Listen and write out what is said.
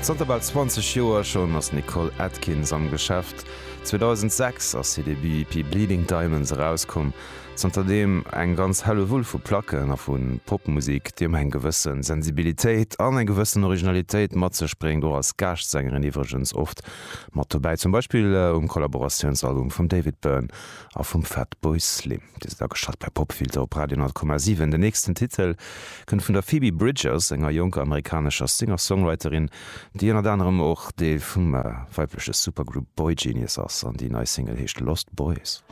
Zanter bal 20 Joer schonn ass d'Nicole Atkins am Geschäft. 2006 ass hir Debut-EP Bleeding Diamonds erauskomm. Zanterdeem eng ganz Hellewull vu Placken a vu Popmusek, déi ëmmer eng gewësse Sensibilitéit an eng gewëssen Originalitéit mat sech bréngt, och als Gaascht-Sängerin iwwregens oft mat dobäi, zum Beispill um Kollaboratiounsalbum vum David Byrne a vum Fatboy Slim. Dir sidd ageschalt bei Popfilter op Radio 10,7. Den nächsten Titel kënnt vun der Phoebe Bridgers, enger jonker amerikanescher Singer-Songwriterin, déi ënnert anerem och Deel vum weibleche Supergroup Boygenius ass, an déi nei Single heescht Lost Boys.